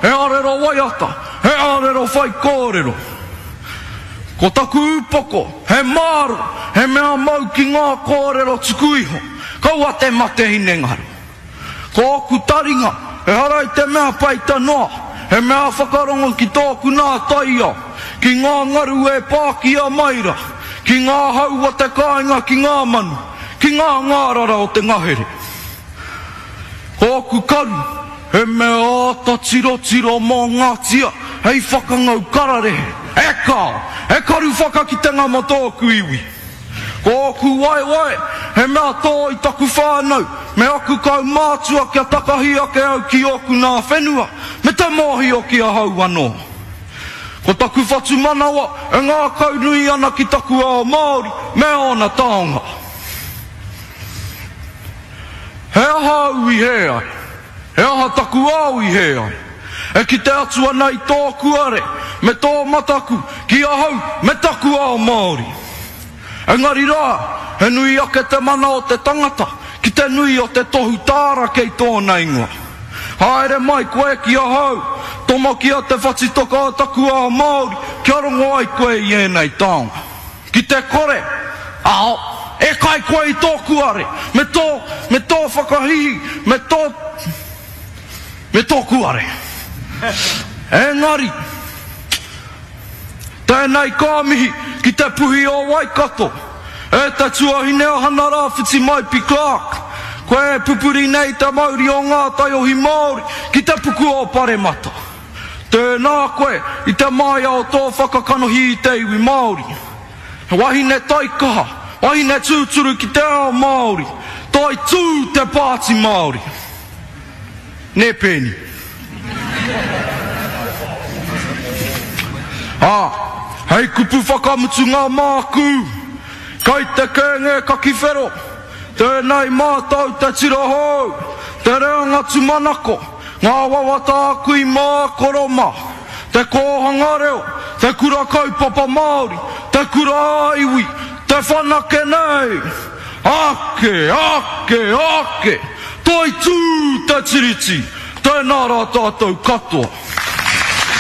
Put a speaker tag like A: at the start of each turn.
A: He arero waiata, he arero whaikōrero. Ko taku upoko, he māro, he mea mau ki ngā kōrero tuku iho, kaua te mate hinengaro. Ko ōku taringa, ehara i te mea peita noa, he mea whakarongo ki tōku nā taiao, ki ngā ngaru e pākia mai rā, ki ngā hau o te kāinga ki ngā manu, ki ngā ngārara o te ngahere. Ko ōku karu, he mea āta tirotiro mō ngā tia hei whakangau kararehe, e kāo, he karu whakakitenga mō tōku iwi. Ko ōku waewae, he mea tō i taku whānau me aku kaumātua kia takahi ake au ki ōku nā whenua me te mōhio ki ahau anō. Ko taku whatumanawa e ngākaunui ana ki taku ao Māori me ōna taonga. He aha au i hē ai? He aha taku ao i hē ai? E kite atu ana i tōku are me tō mataku ki ahau me taku ao Māori. Engari rā, he nui ake te mana o te tangata ki te nui o te tohu tāra kei tōna ingoa. Haere mai koe ki ahau, tomokia te whatitoka o taku ao Māori kia rongo ai koe i ēnei taonga. Ki te kore, ao, e kai koe i tō kuare, me tō, me tō whakahihi, me tō, me tō kuare. Engari, tēnei ka mihi ki te puhi o Waikato, e te tuahine a Hana Rāwhiti Maipi Clarke, koe e pupuri nei te mauri o ngā taiohi Māori ki te puku o Paremata. Tēnā koe i te māia o tō whakakanohi i te iwi Māori. He wahine taikaha, wahine tūturu ki te ao Māori. Toitū te Pāti Māori! Nē Pēni? Ā, hei kupu whakamutunga māku, kei te kēnge kakiwhero, tēnei mātou te tira hou, te reanga tūmanako, Ngā wawata a kui mā, koro mā. Te kōhanga reo, te kura kaupapa Māori, te kura ā-iwi, te whanake nei! Ake, ake, ake! Toitū te Tiriti! Tēnā rā tātou katoa.